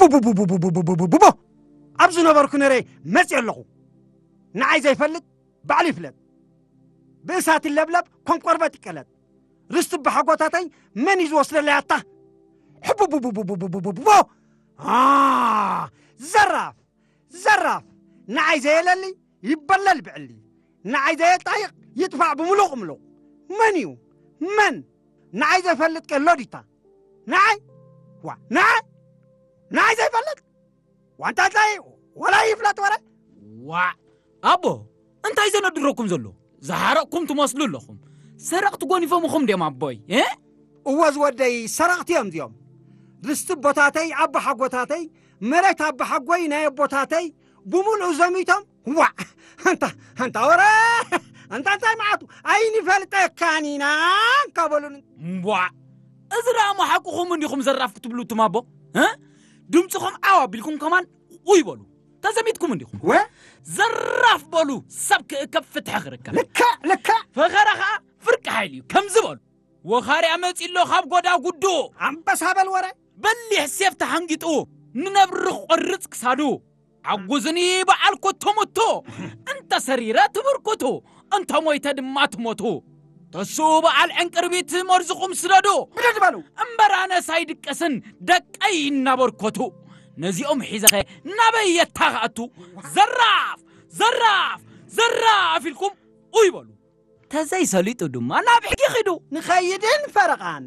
ቡቡቡቡቡቡቡቡቡቡ ኣብ ዝነበርኩ ነረይ መፅእ ኣለኹ። ንዓይ ዘይፈልጥ ባዕሉ ይፍለጥ። ብእሳት ይለብለብ፣ ከም ቆርበት ይቀለጥ። ርስቲ ብሓጎታተይ መን እዩ ዝወስደለይ ኣታ? ሕቡቡቡቡቡቡቡቡቡ! አ፣ ዘራፍ! ዘራፍ! ንዓይ ዘየለሊ ይበለል ብዕሊ። ንዓይ ዘየጣይቕ ይጥፋዕ ብምሉቕ ምሉቕ። መን እዩ? መን? ንዓይ ዘፈልጥ ቀሎ ዲታ? ንዓይ? ዋ፣ ንዓይ? ንዓይ ዘይፈልጥ? ዋንታ እንታይ? ወላ ይፍለጥ ወረ? ዋ፣ ኣቦ፣ እንታይ ዘነድረኩም ዘሎ? ዝሓረቕኩም ትመስሉ ኣለኹም። ሰረቕቲ ጎኒፎምኹም ድዮም ኣቦይ? እ? እወ ዝወደይ፣ ሰረቕቲ እዮም እዚኦም። ርስቲ ኣቦታተይ፣ ኣቦሓጎታተይ፣ መሬት ኣቦሓጎይ ናይ ኣቦታተይ፣ ብምሉኡ ዘሚቶም፣ ዋዕ! ኣንታ፣ ኣንታ ወረ! ኣንታ እንታይ መዓቱ? ኣይንፈልጠካን ኢና! እንካ በሉኒ። ዋዕ! እዚ ደኣ እሞ ሓቅኹም እንዲኹም ዘራፍ ክትብሉ እቱም ኣቦ? እ? ድምፅኹም ዓው ኣቢልኩም ከማን ውይ በሉ። ተዘሚትኩም እንዲኹም። ወ? ዘራፍ በሉ፣ ሰብ ክእከብ ፍትሒ ክርከብ። ልክዕ፣ ልክዕ። ፈኸራ ኸዓ ፍርቂ ሓይሊ እዩ። ከምዚ በሉ። ወኻርያ መጺ ኣሎ ካብ ጎዳጉዱ። ኣንበሳ በል ወረ። በሊሕ ሴፍ ተሓንጊጡ፣ ንነብሪ ክቖርጽ ክሳዱ። ዓጉዝኒ በዓል ኮቶ ሞቶ፣ እንተ ሰሪረ ትብርኩቱ፣ እንተ ሞይተ ድማ ትሞቱ። ተስኡ በዓል ዕንቅርቢት መርዝኹም ስደዱ። ብድድ በሉ። እምበር ኣነስ ኣይድቀስን ደቀይ እናበርከቱ። ነዚኦም ሒዘኸ ናበይ የታኻእቱ? ዘራፍ! ዘራፍ! ዘራፍ ኢልኩም ኡይ በሉ። ተዘይሰሊጡ ድማ ናብ ሕጊ ኺዱ። ንኸይድን ፈረቓን።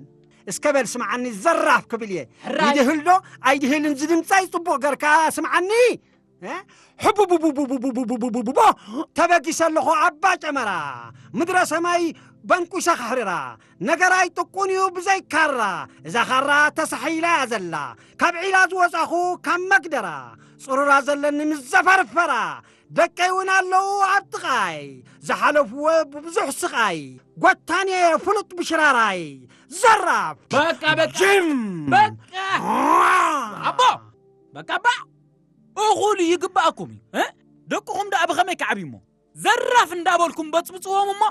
እስከ በል ስምዓኒ ዘራፍ ክብል እየ። ሕራይ። ይድህል ዶ ኣይድህልን ዝድምፀይ ጽቡቕ ገርካ ስምዓኒ። እ? ሕቡቡቡቡቡቡቡቡቡቡቡቦ ተበጊሰ ኣለኹ ኣባ ጨመራ። ምድረ ሰማይ በንቁሰ ካሕርራ። ነገራይ ጥቁን እዩ ብዘይ ካራ። እዛ ካራ ተሳሒላ እያ ዘላ። ካብ ዒላ ዝወጻኹ ካብ መግደራ። ጽሩራ ዘለኒ ምስ ዘፈርፈራ። ደቀይ እውን ኣለዉ ኣብ ጥቓይ። ዝሓለፍዎ ብብዙሕ ስቓይ። ጎታን እየ ፍሉጥ ብሽራራይ። ዘራፍ! በቃ፣ በቃ። ጅም! በቃ! ኣቦ! በቃ፣ ባ! እኹል ይግባኣኩም እዩ፣ እ? ደቅኹም ደኣ ብኸመይ ክዓብዩ እሞ? ዘራፍ እንዳበልኩም በጽብጽዎም እሞ፣